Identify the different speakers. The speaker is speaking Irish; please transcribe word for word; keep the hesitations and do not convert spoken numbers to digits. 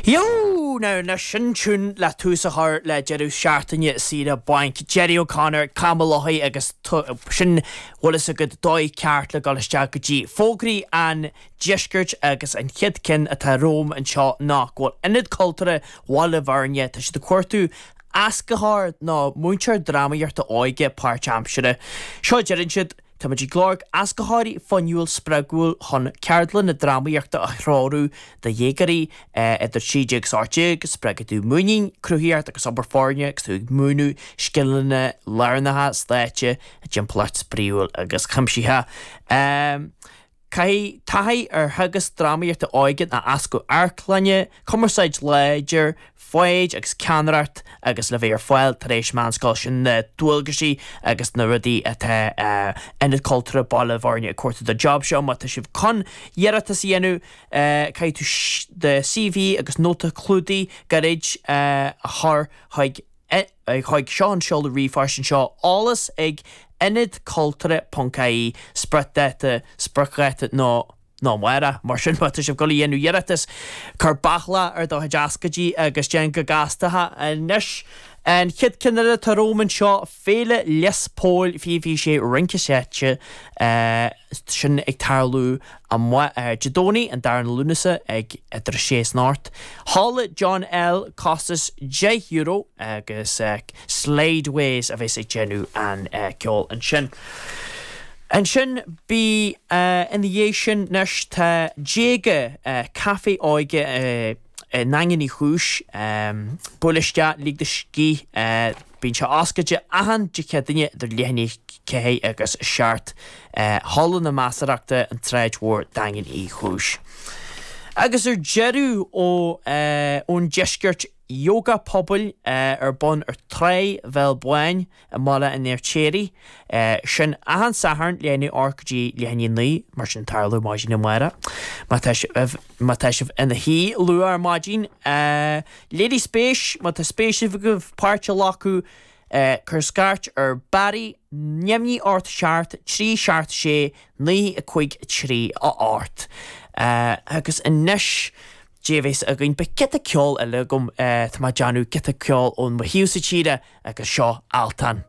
Speaker 1: Yo! Now na sin tune le tús a chur le deireadh seachtaine saoire bainc. Jerry O'Connor, Camalohi agus sin bhfuil a fhios agat dóigh ceart le dul isteach go dtí fógraí an deiscirt agus an chéad cinn atá romham anseo ná go bhfuil Ionad Cultúrtha Bhaile Bhuirne tá siad ag cuartú éascaitheoir nó múinteoir drámaíochta óige páirtaimseartha. Seo deireann siad Táimid ag lorg éascaitheoirí fuinniúil spreagúil chun ceardlanna drámaíochta a threorú do dhéagóirí idir trí déag agus ocht déag, spreagfaidh tú muinín, cruthaíocht agus obair foirne agus tú ag múineadh scileanna lárnacha stáitse i dtimpeallacht spraíúil agus chuimsitheach. Caithfidh taithí ar theagasc drámaíochta óige nó éascú amharclainne, cumarsáid láidir, foighid agus ceannaireacht agus le bheith ar fáil tar éis meánscoil sin na dualgaisí agus na rudaí atá Ionad Cultúrtha Baile Bhuirne ag cuartú don job seo má tá sibh chun iarratas a dhéanamh caithfidh tú do CV agus nóta clúdaigh gairid a chur chuig chuig seo an seoladh ríomhphoist anseo eolas ag ionadcultúrtha.ie spriocdháta spriocdháta nó nó amárach mar sin má tá sibh ag dul a dhéanamh iarratas cuir bachlá ar do chuid eascaidí agus déan go gasta anois an chéad cheann eile atá romham anseo Féile Lios Póil fiche fiche sé rince seite sin ag tarlú amuigh Dé Domhnaigh an darna Lúnasa ag idir a sé is an ocht. Halla John L costas deich euro agus Slideways a bheas ag déanamh an ceol ansin. Ansin bí ina dhiaidh sin anois tá Déaga Caife Óige i nDaingean Uí Chúis buail isteach lig do scíth bíonn sé oscailte achan Dé Céadaoine idir leath i ndiaidh a ceathair agus a seacht Halla na Measarthachta an tSráid Mhór Daingean Uí Chúis. Agus ar deireadh ó ón deisceart Yoga pobail ar bun ar Trá Bhéal Báin i mBaile an Fheirtéaraigh. Sin achan Satharn leath i ndiaidh a hocht go dtí leath i ndiaidh a naoi, mar sin tarlú maidin amárach. Má tá sibh má tá sibh ina shuí luath ar maidin, léirigh spéis, má tá spéis agaibh páirt a ghlacadh, cuir scairt ar Barry neamhní ocht seacht trí seacht sé naoi a cúig trí a hocht. Agus anois Dé bheas againn beidh giota ceol eile agam tá mé ag déanamh giota ceol ón mo thaobhsa tíre agus seo Altan.